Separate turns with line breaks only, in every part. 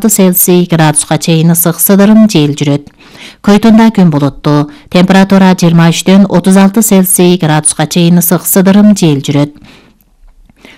Цельсий градуска чейин ысык сыдырым жел жүрөт. Көйтүндө күн булуттуу, температура 23-төн 36 Цельсий градуска чейин ысык сыдырым жел жүрөт.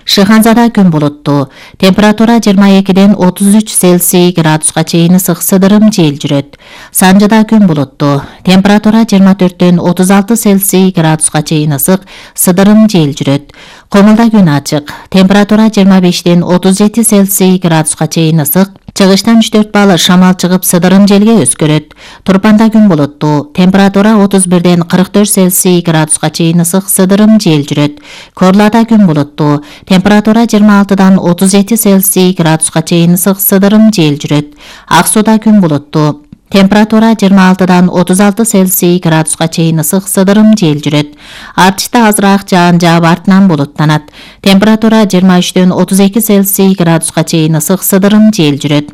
Шыханзада күн булуттуу, температура 22-ден 33 Цельсий градуска чейин ысык сыдырым жел жүрөт. Санжыда күн булуттуу, температура 24-төн 36 Цельсий градуска чейин ысык сыдырым жел жүрөт. Комулда күн ачык, температура 25-ден 37 Цельсий градуска чейин ысык, чыгыштан 3-4 балы шамал чыгып сыдырым желге өскөрөт. Турпанда күн булуттуу, температура 31-ден 44 Цельсий градуска чейин ысык сыдырым жел жүрөт. Корлада күн булуттуу, температура 26-дан 37 Цельсий градуска чейин ысык сыдырым жел жүрөт. Ак сууда күн булуттуу, температура 26-дан 36 Цельсий градуска чейин ысык сыдырым жел жүрөт. Артышта азыраак жаан жаап артынан булуттанат. Температура 23-төн 32 Цельсий градуска чейин ысык сыдырым жел жүрөт.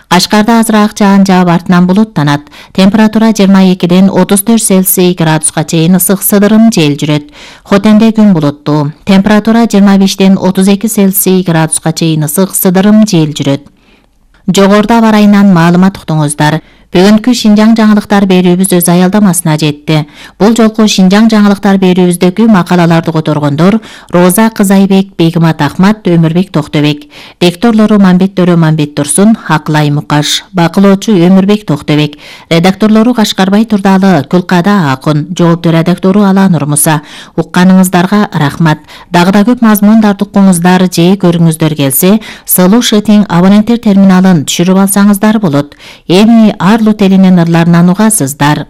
Кашкарда азыраак жаан жаап артынан булуттанат. Температура 22-ден 34 Цельсий градуска чейин ысык сыдырым жел жүрөт. Хотенде күн булуттуу, температура 25-ден 32 Цельсий градуска чейин ысык сыдырым жел жүрөт. Жогоруда бар айынан маалымат уктуңуздар. Бүгүнкү Шинжаң жаңылыктар берүүбүз өз аялдамасына жетти. Бул жолку Шинжаң жаңылыктар берүүбүздөгү макалаларды которгондор Роза Кызайбек, Бегимат Ахмат, Өмүрбек Токтобек. Лекторлору Мамбет Төрө Мамбет Турсун, Акылай Мукаш. Бакылоочу Өмүрбек Токтобек. Редакторлору Кашкарбай Турдалы, Күлкада Акын. Жооптуу редактору Аланур Муса. Укканыңыздарга рахмат. Дагы да көп мазмундарды укуңуздар же көрүңүздөр келсе, Сылуу Шытың абоненттер терминалын түшүрүп алсаңыздар болот. Эми Арлу телинин ырларынан угасыздар.